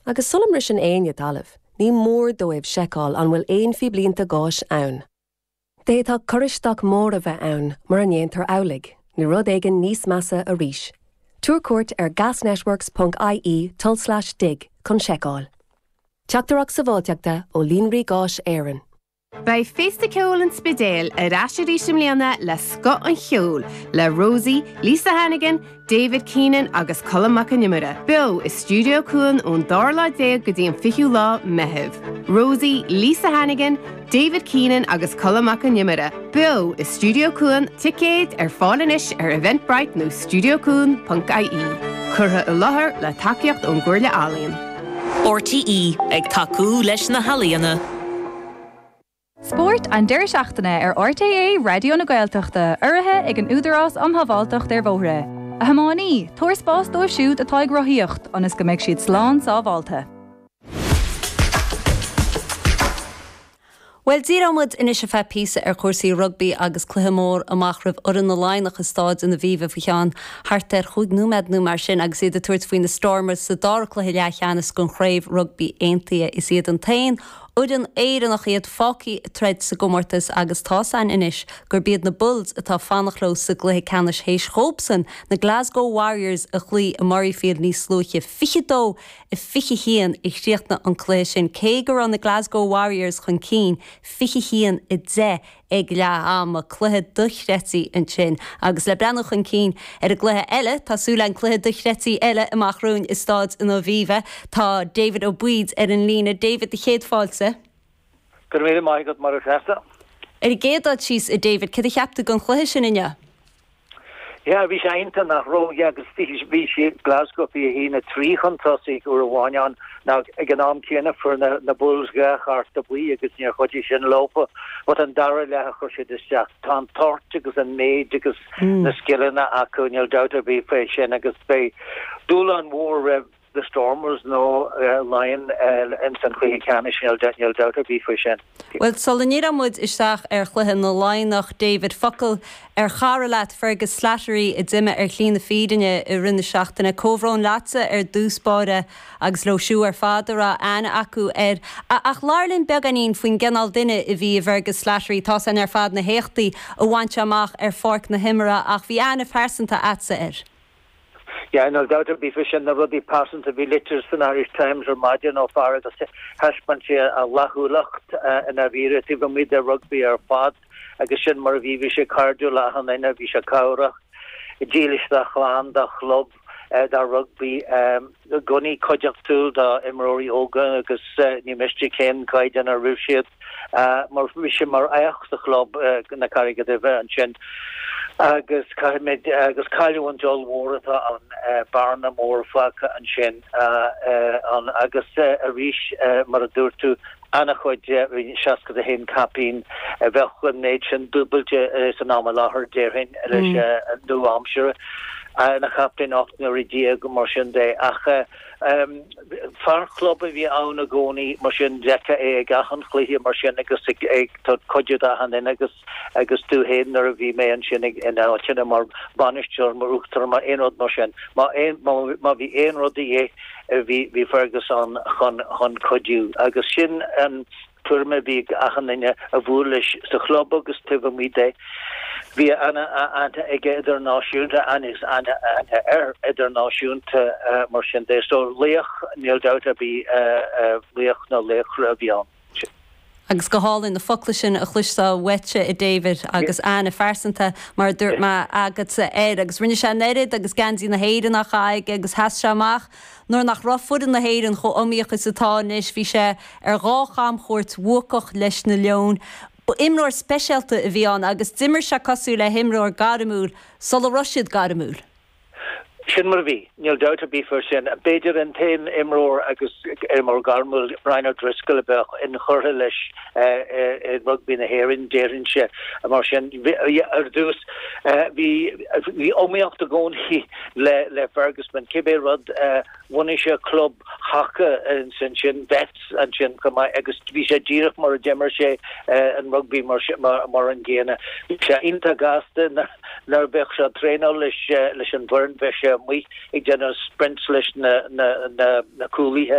Agus sula mbriseann éinne talamh, ní mór dóibh seiceáil an bhfuil aon phíblínte gáis ann. D'fhéadfadh cur isteach mór a bheith ann mura ndéantar amhlaidh, nó rud éigin níos measa arís. Tabhair cuairt ar gasnetworks ponc ie tulslais dig chun seiceáil. Teachtaireacht Sábháilteachta ó Líonraí Gáis Éireann. Beidh Féasta Ceoil an Spidéil ar ais arís i mbliana le scoth an cheoil le Rosie, Lisa Hannigan, David Keenan agus Colm Mac Con Iomaire, beo i Stiúideo Cuan ón dara lá déag go dtí an fichiú lá Meitheamh. Rosie, Lisa Hannigan, David Keenan agus Colm Mac Con Iomaire, beo i Stiúideo Cuan, ticéid ar fáil anois ar Eventbrite nó studiocuan ponc ie. Curtha i láthair le tacaíocht ón gComhairle Ealaíon. RTÉ, ag tacú leis na healaíona. Spórt an deireadh seachtaine ar RTÉ Raidió na Gaeltachta, urraithe ag an Údarás um Shábháilteacht ar Bhóithre. A thiománaí, tabhair spás dóibh siúd atá ag rothaíocht, ionas go mbeidh siad slán sábháilte. Bhuel, díreoidh muid anois ar feadh píosa ar chúrsaí rugbaí agus cluiche mór amach roimh fhoireann na Laighneach i Stáid an Aviva faoi cheann thart ar chúig nóiméad nó mar sin agus iad ag tabhairt faoi na Stormers sa dara cluiche leathcheannais den Chraobh Rugbaí Aontaithe. Is iad an t-aon fhoireann Éireannach iad fágtha ag troid sa gcomórtas agus tá's againn anois gurb iad na Bulls atá ag fanacht leo sa gcluiche ceannais théis dhóibhsan na Glasgow Warriors a chloí i Murrayfield níos luaithe. 22 21 a chríochnaigh an cluiche sin, cé go raibh na Glasgow Warriors chun cinn 21, 10 ag leath ama. Cluiche dochreidte ansin. Agus le breathnú chun cinn ar an gcluiche eile, tá súil againn, cluiche dochreidte eile amach romhainn i Stáid an Aviva. Tá David Ó Baoid ar an líne. David, do chéad fáilte. Go raibh míle maith agat, Máire Treasa. Ar an gcéad dul síos, a David, céard a cheap tú den chluiche sin inniu? Yeah, bhí sé iontach nach raibh, yeah, agus bhí, bhí siad, Glasgow 21, 3 chun tosaigh uair amháin ann, ná ag an am céanna fuair na, na Bulls dhá chárta buí agus níor chuidigh sin leofa, but an dara leath a chuir siad isteach, tá an toirt agus an méid agus na scileanna acu, níl dabht ar bith fé sin agus beidh dúshlán mhór roimh The Stormers nó Laighin ins an chluiche ceannais, níl dabht ar bith faoi sin. Bhuel, sula ndíreoidh muid isteach ar chluiche na Laighneach, David, focal ar chara leat, Fergus Slattery, a d'imigh ar shlí na fírinne i rith na seachtaine. Comhbhrón leatsa ar dtús báire agus leo siúd ar fad a raibh aithne acu air. Ach labhair linn beagáinín faoin gcineál duine a bhí i bhFergus Slattery. Tá's againn ar fad na héachtaí a bhain sé amach ar pháirc na himeartha ach bhí aithne phearsanta a'dsa air. Yeah, níl dabht ar bith faoi sin, na rudaí pearsanta, bhí litir san Irish Times ar maidin ó fear agus thaispeáin sé a fhlaithiúlacht i ndáiríre taobh amuigh de rugbaí ar fad agus sin mar a bhí, bhí sé cairdiúil le achan duine, bhí sé cabhrach, dílis dá chlann, dá chlub, dá rugbaí, i gcónaí cuideachtúil do imreoirí óga agus ní miste cén caighdeán a raibh siad. mar bhí sé mar aoch sa chlub na Carraige Duibhe ansin agus caithfimid agus cailliúint ollmhór atá ann, bearna mór fágtha ansin ann agus arís mar a dúirt tú an-chuid, bhí 61 caipín, bheadh an méid sin dúbailte san am i láthair déarfainn leis an nua-aimsire, ina chaptaen 18 n-uaire mar sin de ach Fear club a bhí ann i gcónaí, mar sin d'fheicfeá é ag achan chluiche mar sin agus ag ag cuidiú d'achan duine agus agus tú féin nuair a bhí mé ansin ag in áiteanna mar bainisteoir, mar uachtarán, mar aon rud mar sin. Má aon má bhí aon rud de dhíth bhí bhí Fergus ann chun chun cuidiú agus sin an tuairim a bhí ag achan duine a bhuail leis sa chlub agus taobh amuigh de. Bhí an-aithne aige idirnáisiúnta agus an-aithne air idirnáisiúnta mar sin de. So laoch, níl dabht ar bith, laoch na laochra a bhí ann. Agus go hálainn na focla sin a chloisteáil uaitse, a David, agus aithne phearsanta, mar a dúirt mé, agatsa air. Agus rinne sé an oiread agus geansaí na hÉireann á chaitheamh aige agus sheas sé amach nuair nach raibh foireann na hÉireann chomh iomaíoch is atá anois. Bhí sé ar dhá chamchuairt bhuacach leis na Leoin. Ba imreoir speisialta a bhí ann agus d'imir sé cosúil le himreoir gairmiúil sula raibh siad gairmiúil. Sin mar a bhí, níl dabht ar bith faoi sin. B'fhéidir an t-aon imreoir agus imreoir gairmiúil, Brian O'Driscoll, a bheadh inchurtha leis i rugbaí na hÉireann, déarfainnse. Mar sin, ar dtús, bhí iomaíocht i gcónaí le Fergus, cibé rud, Bhunaigh sé club haca ansin, Vets ansin chomh maith agus bhí sé díreach mar a d'imir sé an rugbaí mar an gcéanna. Bhí sé iontach gasta nuair a bheadh sé ag traenáil leis an bhfoireann, bheadh sé amuigh ag déanamh sprints leis na cúlaithe.